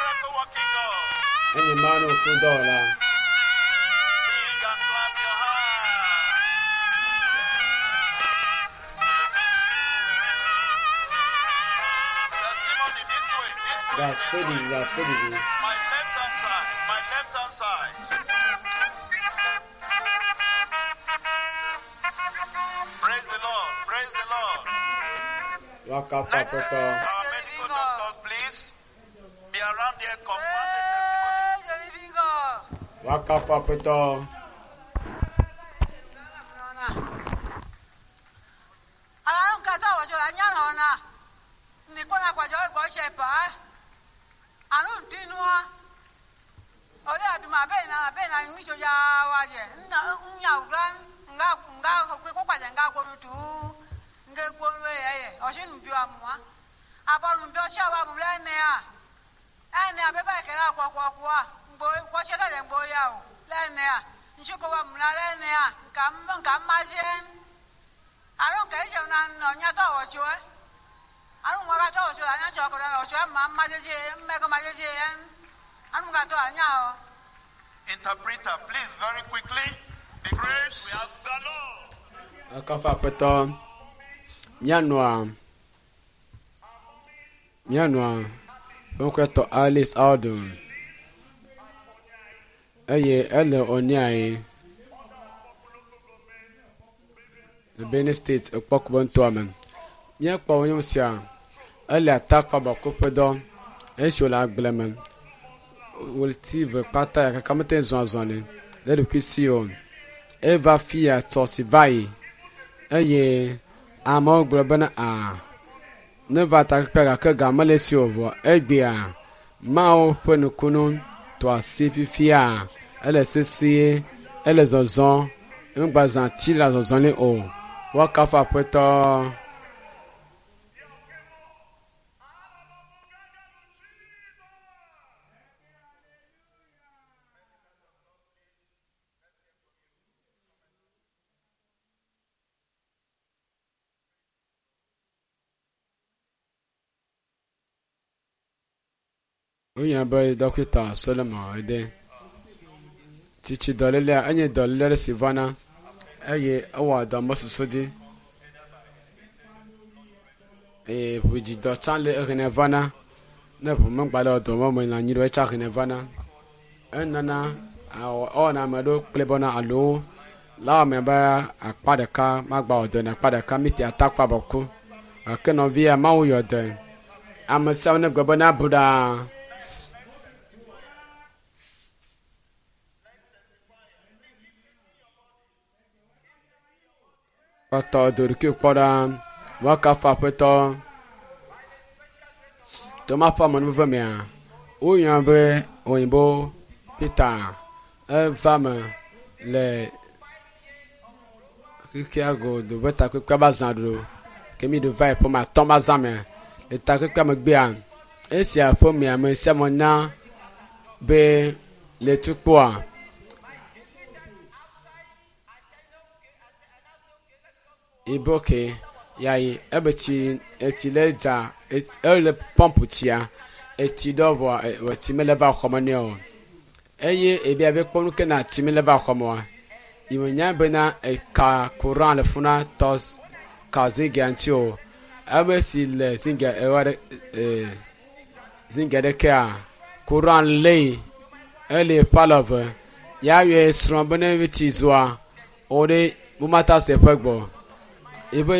miracle working God. Enye Mawu nukudɔwɔla. Sing and clap your hands. Testimony this way, this way, this Ɖaseɖiɖi, way. ɖaseɖiɖi. My left hand side, my left hand side. Praise the Lord, praise the Lord. Woakafu Next, Aƒetɔ. our medical doctors, please be around here, confirm the testimonies. Praise the living God. Woakafu Aƒetɔ. Nka Aro nke ije na ọnya tọ ọchụ e. Aro nwa ka tọ ọchụ anya chọ kọrọ na ọchụ ma mma jeje mmekọ ma jeje ya. Anu ka tọ anya o. Interpreter, please, very quickly, because we have the Lord. Woakafu Aƒetɔ. Míanɔa míanɔa ƒe ŋkɔe tɔ Alice Aldon eye ele Oniae le Benue State ekpɔkube nutoa me. Míekpɔ nyɔnu sia ele atakpabɔku ƒe dɔ esi wòle agble me. Ɣleti ve kpata ya kaka mete ŋu zɔ azɔli le eɖokui si o. Eva fi ya tsɔ si va yi eye amewo gblɔ bena aa neva takpekpea gake ga mele esi o vɔ egbea Mawu ƒe nukunu tɔ asi fifia ele sesie ele zɔzɔm emegbazã ati le zɔzɔm nɛ o. Woakafu Aƒetɔ. Wonya be dɔkita Solomon ede. Tsitsi dɔlélea enye dɔléle aɖe si vana eye ewɔa dɔ mesusu dzi eye ʋudzidɔ tsã le ehene vana. Ne ʋu megba le dɔ me le anyi ɖo etsã hene vana. Enana ewɔna ame ɖewo kple bɔna alo la wɔme be akpa ɖeka magba wɔ dɔ ne akpa ɖeka mite atakpa bɔku gake nɔvia Mawu yɔ dɔe. Ame siawo ne gblɔ be na bu ɖaa. Kpɔtɔ do ɖokui kpɔ ɖa. Woakafu Aƒetɔ. Toma ƒe amenuveve mea, woyɔ be òyìnbó Peter eva me le xexea godo be takpekpea be azã ɖo ke mi ɖo va yi ƒome atɔ̃ be azã me le takpekpea megbea esia ƒomea me sia me na be le tukpoa ibo ke yayi ebe tsi etsi le dza ele pɔmpu tsia etsi ɖɔ vɔ etsi mele va xɔme nɛ o eye ebia be kpɔ nu ke na tsi mele va xɔme oa yi nya bena eka courant le funa tɔ ka zingia ŋuti o ebe si le zingia ewa ɖe ee zingia ɖekea courant lée ele ƒe alɔve ya yɔe srɔ̃ be ne tsi zua wo ɖe womata se ƒe gbɔ ebe.